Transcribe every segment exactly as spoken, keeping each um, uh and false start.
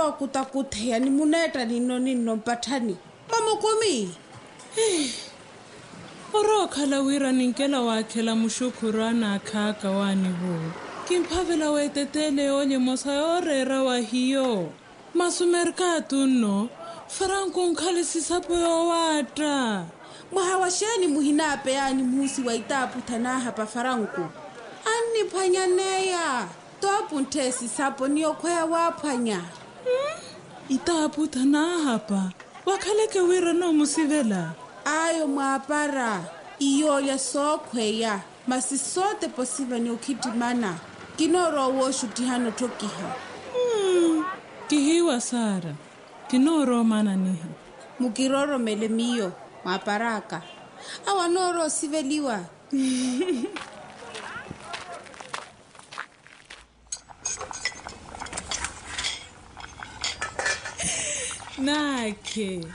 Okutakutheya ni muneetta ninno ninno mpatthani. Mamukumi. Orookhala wira ninkela waakhela muxukhuru anaakhaka waanivo. Kimphavela weeteteele yoolya emosa yooreera wa hiyo. Masi omerkatu nno, faranku onkhale sisapo yoowaatta. Mwaha wa xeeni muhinaapeyaani muhusi wa itaaputha naahapa faranku? Anniphwanyaneya. Toopuntthe sisapo ni okhweya waaphwanya. Itaaputha naahapa. Wakhaleke wira noomusivela. Ayo mwaapara. Iyoolya sookhweya. Masi sootepa osiva ni okhittimana. Kinoorowa wooxuttihana otthokiha. Kihiiwa saara. Kinoorowa omananiha. Mukirooromele miyo mwaapar'aka. Awo anoorowa osiveliwa. Naakhe.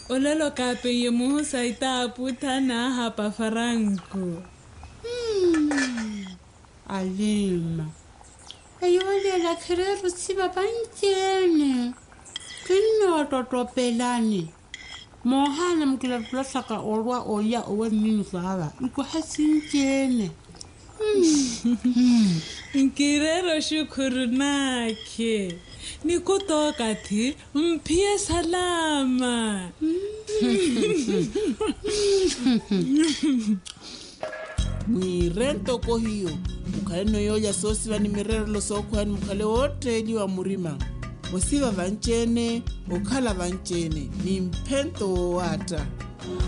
Olelo kaapeiye muhusa itaaputha naahapa faranku. Alima. Eyo olelo akhireera osiva vanci-ene. Kinnootottopelani. Moohaana mukilattulashaka olwa olya owa nninu saava ikwaha sinci-ene. Nkireera oxukhuru naakhe. Nikutookathi mphiye salaama. Mwiire ntoko hiyo. Mukhale noyoolya soosiva ni mireerelo sookhweya ni mukhale wootteeliwa murima. Osiva vanci-ene. Okhala vanci-ene ni mphento woowaatta.